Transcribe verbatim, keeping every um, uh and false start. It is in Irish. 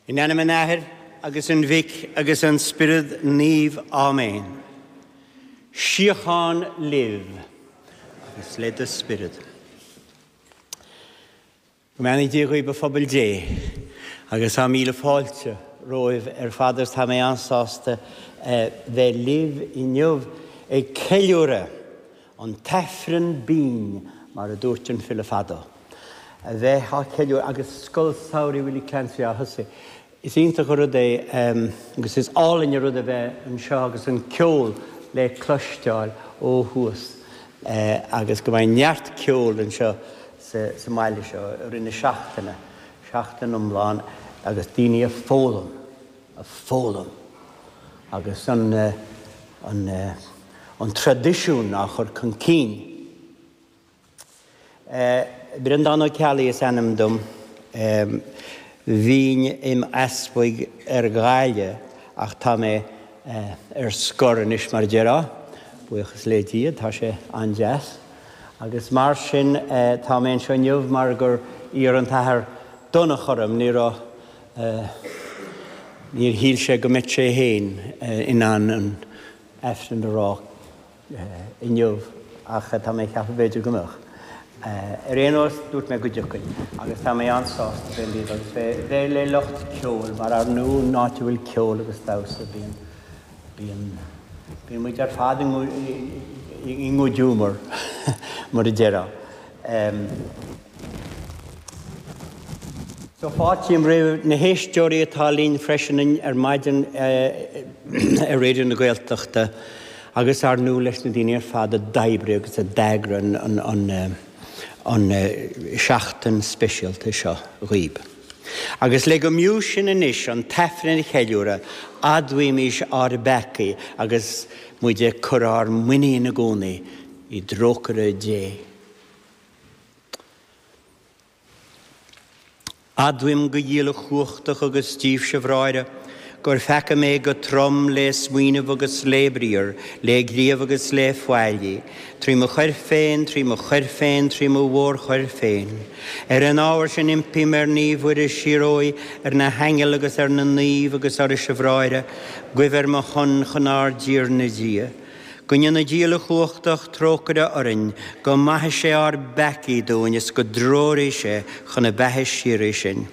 In ainm an Athar agus an Mhic agus an Spiorad Naomh Áiméan. Síocháin libh agus le do spiorad. Go mbeannaí Dia dhaoibh a phobal Dé agus tá míle fáilte romhaibh ar fad agus tá mé an-sásta bheith libh inniu ag ceiliúradh an tAifreann binn mar a dúirt an file fadó. A bheith á cheiliúradh agus Scoil Samhraidh Willie Clancy á thosaí. Is iontach an rud é agus is álainn an rud a bheith anseo agus an ceol le cloisteáil ó thuas agus go mbeidh neart ceoil anseo sa mbaile seo i rith na seachtaine, seachtain iomlán agus daoine ag foghlaim, ag foghlaim agus an an an traidisiún á chur chun cinn. Breandán Ó Ceallaigh is ainm dom. Bhínn im easpag ar Ghaillimh ach tá mé ar scor anois mar a déarfá, buíochas le Dia, tá sé an-deas. Agus mar sin tá mé anseo inniu mar gur iarr an tAthair Donncha orm, ní raibh, níor shíl sé go mbeadh sé féin in ann an Aifreann a rá inniu ach tá mé ag ceapadh b'fhéidir go mbeadh. Ar aon nós, dúirt mé go dtiocfainn agus tá mé an-sásta bheith libh agus bheith le lucht ceoil mar ar ndóigh an áit a bhfuil ceol agus damhsa bíonn, bíonn, bíonn muid ar fad i ngiúmar mar a déarfá. So fáiltím roimh na héisteoirí atá linn freisin ar maidin ar Raidió na Gaeltachta agus ar ndóigh leis na daoine ar fad a d'oibrigh agus a d'eagraigh an, an, an seachtain speisialta seo dhaoib. Agus le go mb'fhiú sinn anois an tAifreann a cheiliúradh, admhaímis ár bpeacaí agus muid ag cur ár muinín i gcónaí i dtrócaire Dé. Admhaím go uilechumhachtach agus díbhse a bhráithre, gur pheacaigh mé go trom le smaoineamh agus le briathar, le gníomh agus le faillí, trí mo choir féin, trí mo choir féin, trí mo mhórchoir féin. Ar an ábhar sin impím ar Naomh Mhuire síoróidh, ar na haingil agus ar na naoimh agus oraibhse a bhráithre, guibh ar mo shon chun ár dTiarna Dia. Go ndéana Dia uilechumhachtach trócaire orainn, go maithe sé ár bpeacaí dúinn is go dtreoraí sé chun na beatha síoraí sinn.